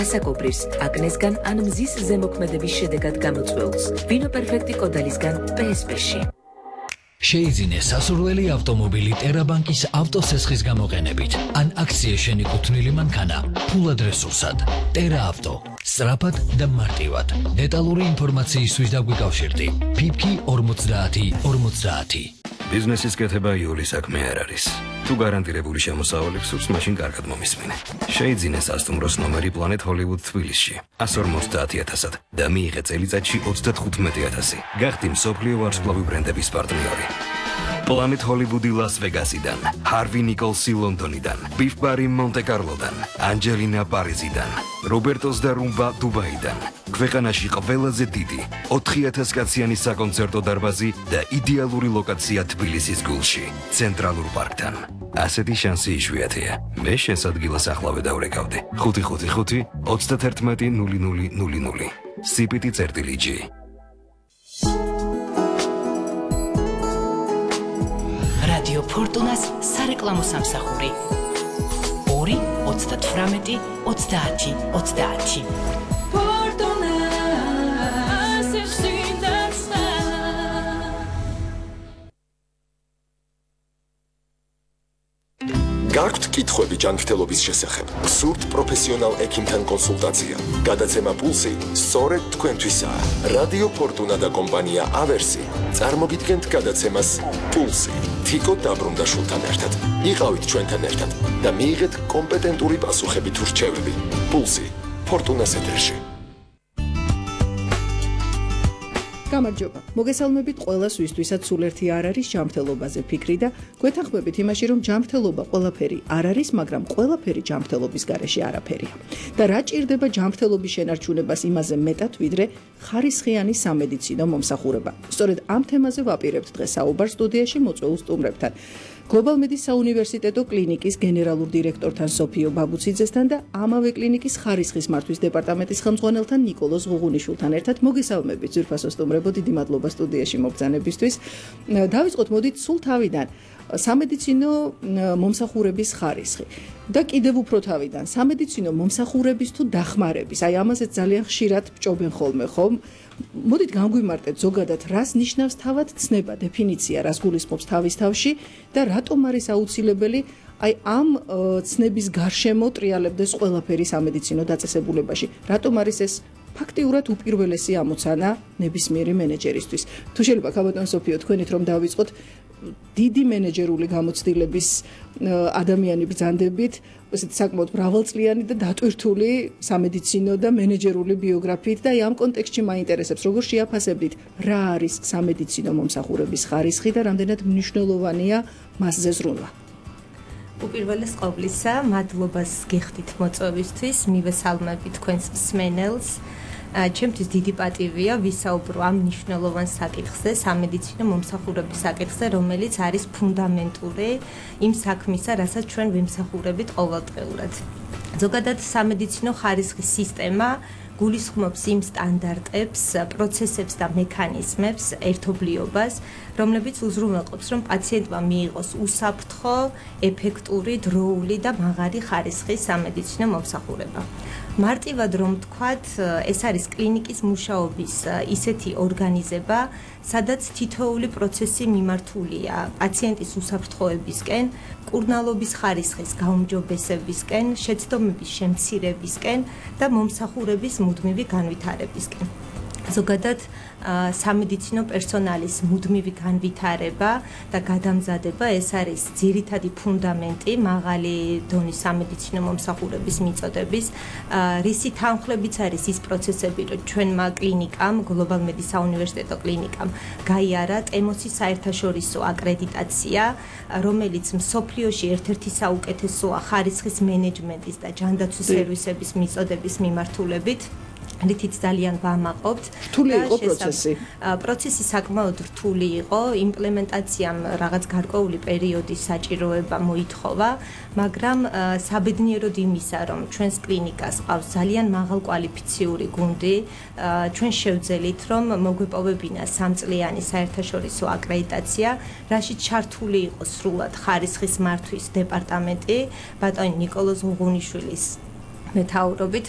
ასაკობრის, აკნესგან ან მზის ზემოქმედების შედეგად გამოწვეულს. ვინო პერფექტი კოდალისგან PSP-ში. შეიძინე სასურველი ავტომობილი ტერაბანკის ავტოსესხის გამოყენებით ან აქციის შენიკუთვნილი მანქანა ფულად რესურსად. ტერა ავტო. სწრაფად და მარტივად. დეტალური ინფორმაციისთვის დაგვიკავშირდი. PIPKI 5050. ბიზნესის კეთება იული საქმე არ არის. თუ გარანტირებული შემოსავალი გსურს, მაშინ კარგად მომისმინე. შეიძინე სასტუმროს ნომერი Planet Hollywood თბილისში 150,000-ად და მიიღე წელიწადში 35,000. გახდი მსოფლიო ვარსკვლავი ბრენდების პარტნიორი. Planet Hollywood-ი ლას-ვეგასიდან, Harvey Nicholsი ლონდონიდან, Biff Barry მონტე-კარლოდან, Angelina პარიზიდან, Robertos და Rumba დუბაიდან. ქვეყანაში ყველაზე დიდი 4000 კაციანი საკონცერტო დარბაზი და იდეალური ლოკაცია თბილისის გულში, ცენტრალურ პარკთან. ასეთი შანსი იშვიათია. მე შენს ადგილას ახლავე დავრეკავდი. 555 31 0000. CPT-G. რადიო ფორტუნას სარეკლამო სამსახური 2 38 30 30. გაქვთ კითხვები ჯანმრთელობის შესახებ? გსურთ პროფესიონალ ექიმთან კონსულტაცია? გადაცემა პულსი სწორედ თქვენთვისაა. რადიო ფორტუნა და კომპანია ავერსი წარმოგიდგენთ გადაცემას პულსი. თიკო დაბრუნდაშვილთან ერთად. იყავით ჩვენთან ერთად და მიიღეთ კომპეტენტური პასუხები თუ რჩევები. პულსი ფორტუნას ეთერში. გამარჯობა. მოგესალმებით ყველას, ვისთვისაც სულ ერთი არ არის ჯანმრთელობაზე ფიქრი და გვეთანხმებით იმაში, რომ ჯანმრთელობა ყველაფერი არ არის, მაგრამ ყველაფერი ჯანმრთელობის გარეშე არაფერია. და რა ჭირდება ჯანმრთელობის შენარჩუნებას იმაზე მეტად, ვიდრე ხარისხიანი სამედიცინო მომსახურება. სწორედ ამ თემაზე ვაპირებთ დღეს საუბარს სტუდიაში მოწვეულ სტუმრებთან. Global Medis საუნივერსიტეტო კლინიკის გენერალურ დირექტორთან სოფიო ბაბუციძესთან და ამავე კლინიკის ხარისხის მართვის დეპარტამენტის ხელმძღვანელთან ნიკოლოზ ღუღუნიშვილთან ერთად მოგესალმებით ძვირფასო სტუმრებო, დიდი მადლობა სტუდიაში მობრძანებისთვის. დავიწყოთ მოდით სულ თავიდან სამედიცინო მომსახურების ხარისხი და კიდევ უფრო თავიდან სამედიცინო მომსახურების თუ დახმარების. აი ამაზეც ძალიან ხშირად ბჭობენ ხოლმე, ხომ? მოდით განგვიმარტეთ ზოგადად, რას ნიშნავს თავად ცნება, დეფინიცია, რას გულისხმობს თავის თავში და რატომ არის აუცილებელი აი ამ ცნების გარშემო ტრიალებდეს ყველაფერი სამედიცინო დაწესებულებაში. რატომ არის ეს ფაქტიურად უპირველესი ამოცანა ნებისმიერი მენეჯერისთვის? თუ შეიძლება ქაბატონ სოფიო, თქვენით რომ დავიწყოთ დიდი მენეჯერული გამოცდილების ადამიანი ბრძანდებით, ესეთი საკმაოდ მრავალწლიანი და დატვირთული სამედიცინო და მენეჯერული ბიოგრაფიით და ამ კონტექსტში მაინტერესებს, როგორ შეაფასებდით, რა არის სამედიცინო მომსახურების ხარისხი და რამდენად მნიშვნელოვანია მასზე ზრუნვა. უპირველეს ყოვლისა, მადლობას გიხდით მოწვევისთვის, მივესალმებით თქვენს მსმენელს. ჩემთვის დიდი პატივია ვისაუბრო ამ მნიშვნელოვან საკითხზე, სამედიცინო მომსახურების საკითხზე, რომელიც არის ფუნდამენტური იმ საქმისა, რასაც ჩვენ ვიმსახურებით ყოველდღიურად. ზოგადად სამედიცინო ხარისხის სისტემა გულისხმობს იმ სტანდარტებს, პროცესებს და მექანიზმებს, ერთობლიობას, რომლებიც უზრუნველყოფს, რომ პაციენტმა მიიღოს უსაფრთხო, ეფექტური, დროული და მაღალი ხარისხის სამედიცინო მომსახურება. მარტივად რომ ვთქვათ, ეს არის კლინიკის მუშაობის ისეთი ორგანიზება, სადაც თითოეული პროცესი მიმართულია პაციენტის უსაფრთხოებისკენ, მკურნალობის ხარისხის გაუმჯობესებისკენ, შეცდომების შემცირებისკენ და მომსახურების მუდმივი განვითარებისკენ. ზოგადად სამედიცინო პერსონალის მუდმივი განვითარება და გადამზადება ეს არის ძირითადი ფუნდამენტი მაღალი დონის სამედიცინო მომსახურების მიწოდების, რისი თანხლებიც არის ის პროცესები, რომ ჩვენმა კლინიკამ, Global Medis საუნივერსიტეტო კლინიკამ გაიარა ტემოსის საერთაშორისო აკრედიტაცია, რომელიც მსოფლიოში ერთ-ერთი საუკეთესოა ხარისხის მენეჯმენტის და ჯანდაცვის სერვისების მიწოდების მიმართულებით. რითიც ძალიან ვამაყობთ. რთული იყო პროცესი. პროცესი საკმაოდ რთული იყო, იმპლემენტაციამ რაღაც გარკვეული პერიოდის საჭიროება მოითხოვა, მაგრამ საბედნიეროდ იმისა, რომ ჩვენს კლინიკას ყავს ძალიან მაღალკვალიფიციური გუნდი, ჩვენ შევძელით, რომ მოგვეპოვებინა 3 წლიანი საერთაშორისო აკრედიტაცია, რაშიც ჩართული იყო სრულად ხარისხის მართვის დეპარტამენტი, ბატონი ნიკოლოზ ღუღუნიშვილის მეთაურობით,